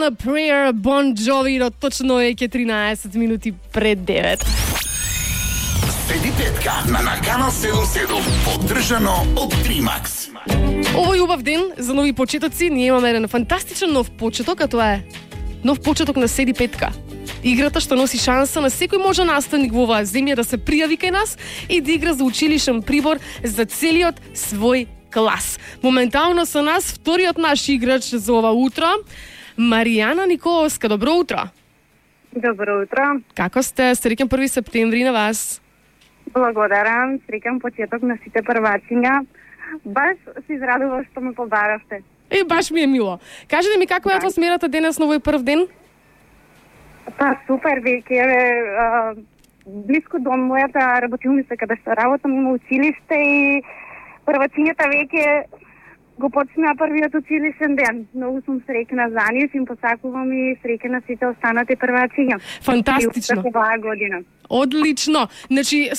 a Prayer, Bon Jovi, но точно е 13 минути пред 9. Седи петка на Канал 77, поддржано од Тримакс. Овој убав ден за нови почетоци. Ние имаме еден фантастичен нов почеток, а тоа е нов почеток на Седи петка. Играта што носи шанса на секој може наставник во оваа земја да се пријави кај нас и да игра за училишен прибор за целиот свој клас. Моментално со нас вториот наш играч за ова утро, Маријана Николовска. Добро утро. Добро утро. Како сте? Среќен 1 септември на вас. Благодарам. Среќен почеток на сите првачиња. Баш се израдував што ме побаравте. Баш ми е мило. Кажете ми како е атмосферата денес на овој прв ден? Па супер, веќе блиско до мојата работилница каде што работам има училиште и првачињата веќе го почнаа првиот училишен ден. Многу сум среќна за нив и им посакувам и среќна сите останати првачиња. Фантастично. Оваа година. Одлично. Значи,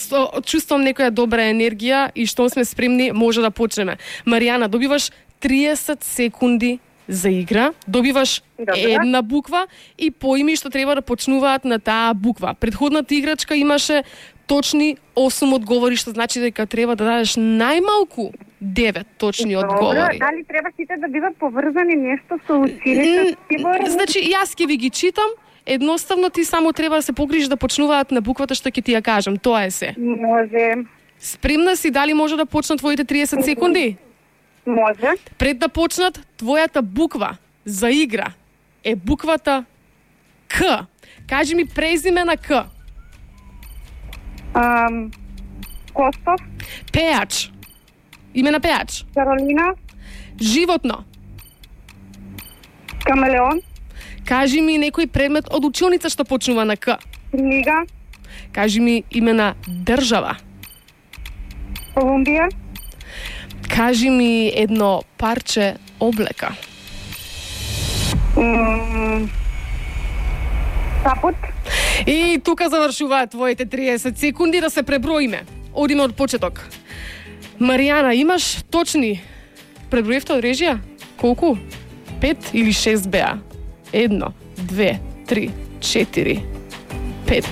чувствувам некоја добра енергија и што сме спремни, може да почнеме. Маријана, добиваш 30 секунди за игра, добиваш една буква и поими што треба да почнуваат на таа буква. Предходната играчка имаше точни 8 одговори, што значи дека треба да дадеш најмалку 9 точни одговори. Дали треба сите да бидат поврзани нешто со училиште? Значи, јас ќе ви ги читам, едноставно ти само треба да се погрижиш да почнуваат на буквата што ќе ти ја кажам. Тоа е се. Може. Спремна си, дали може да почнат твоите 30 секунди? Може. Пред да почнат, твојата буква за игра е буквата К. Кажи ми презиме на К. Костов. Пејач. Име на пејач. Каролина. Животно. Камелеон. Кажи ми некој предмет од училница што почнува на К. Книга. Кажи ми име на држава. Колумбија. Кажи ми едно парче облека. Капут. И тука завршуваат твоите 30 секунди да се преброиме. Одиме од почеток. Маријана, имаш точни преброивте од режија? Колку? 5 или 6 беа? 1, 2, 3, 4, 5,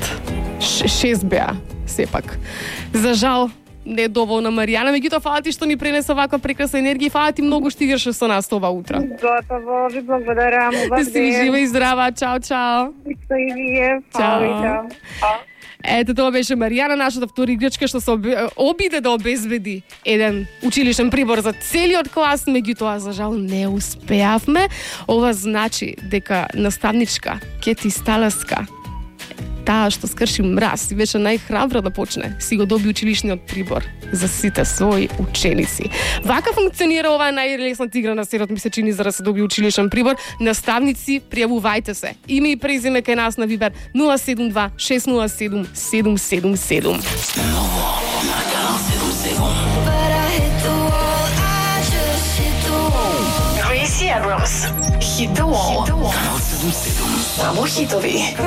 6 беа, сепак. За жал, не е доволна Маријана, меѓутоа фала ти што ни пренеса ваква прекрасна енергија и фала ти многу што играше со нас ова утро. Готово, ви благодарам. Да си жива и здрава, чао, чао. Исто и вие. Чао. Ето тоа беше Маријана, нашата втора играчка што се обиде да обезбеди еден училишен прибор за целиот клас, меѓутоа за жал не успеавме. Ова значи дека наставничка Кети Сталаска, таа што скрши мраз и беше најхрабра да почне, си го доби училишниот прибор за сите своји ученици. Вака функционира оваа најлесната игра на светот, ми се чини, за да се доби училишен прибор. Наставници, пријавувајте се. Име и презиме кај нас на Вибер 072 607 777. Ново на Канал 77. Gracie Abrams. Hit the wall. Канал 77. Само хитови.